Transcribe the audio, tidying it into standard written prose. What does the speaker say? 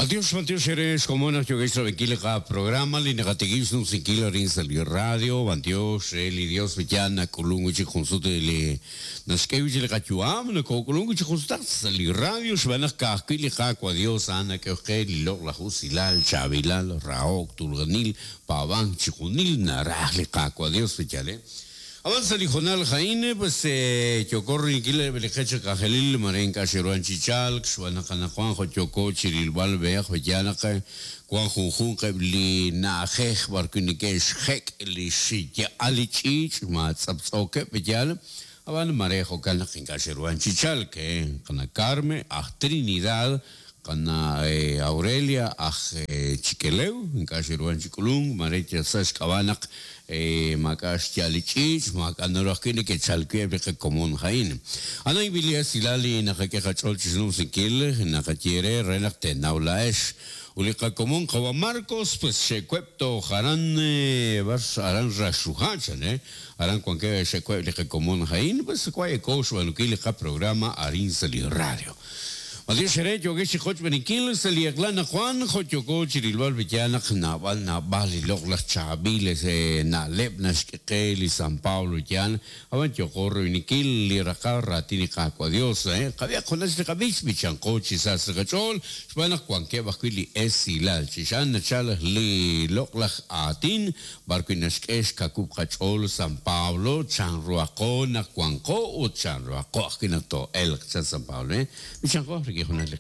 B'antiox, b'antiox eere xkomon naq yookex rab'inkil li qaprograma li naqatikib' xnumsinkil arin sa' li radio. B'antiox re li Dios wi yaal nak'ulun wi' chik jun sut li naxk'e wi' chik li qayu'am, nokook'ulun wi' chik jun sutaq sa' li radio xb'aan naq ka'ajwi' li Qaawa' Dios a'an nak'ehok qe li loq'laj usilal, chaab'ilal, rahok, tuulanil, paab'ank, chixjunil naraj li Qaawa' Dios wi yaal, eh. Ab'an sa' li hoonal a'in, pues yooko rilinkil eb' li qech aj k'anjelil mare ink'a' xe'ruhan chi chalk xb'aan naq anaqwan jo' yooko chi rilb'al b'ehaq b'eyaal naq wan junjunq eb' li na'ajej b'arwi' neke'xjek' li xya'al li ch'iich' ma tz'aptz'ookeb' b'eyaal ab'an mare jo'kan naq ink'a' xe'ruhan chi chalk qana Carmen aj Trinidad Qana' Aurelia aj Chikelew, ink'a' xe'ruhan chi k'ulunk, mare yal sa' xk'ab'a' naq maak'a' xya'al li ch'iich', maak'a' naru ajwi' neke'chalk wi' eb' li qakomon a'in. A'an li esilal li naqak'e qach'ool chi xnumsinkil, naqaye eere re naq teenaw laa'ex. Ut li qakomon qawa' Marcos, pues xe'web' toj aran b'ar aran Raxruha' chan, aran wankeb' xe'web' li qakomon a'in, pues wa' eko xb'aanunkil li qaprograma arin sa' li radio. B'antiox eere yookex chi qochb'eeninkil sa' li eq'la anaqwan jo' yooko chi rilb'al pe'yaal naq naab'al naab'al li loq'laj chaab'il na'leb' naxk'e qe li San Pablo yaal ab'an yooqo royb'eninkil li raqal raatin li Qaawa' Dios qab'ihaq junaq li qab'ich b'ichanqo chi sa sa' qach'ool xb'aan naq wankeb' ajwi' li esilal chixa'an nachal li loq'laj aatin b'arwi' naxk'e xkawub' qach'ool San Pablo, chanruhaqo naq wanqo ut chanruhaqo ajwi' naq too'elq, chan San Pablo. B'ichanqo rik'in junaq li.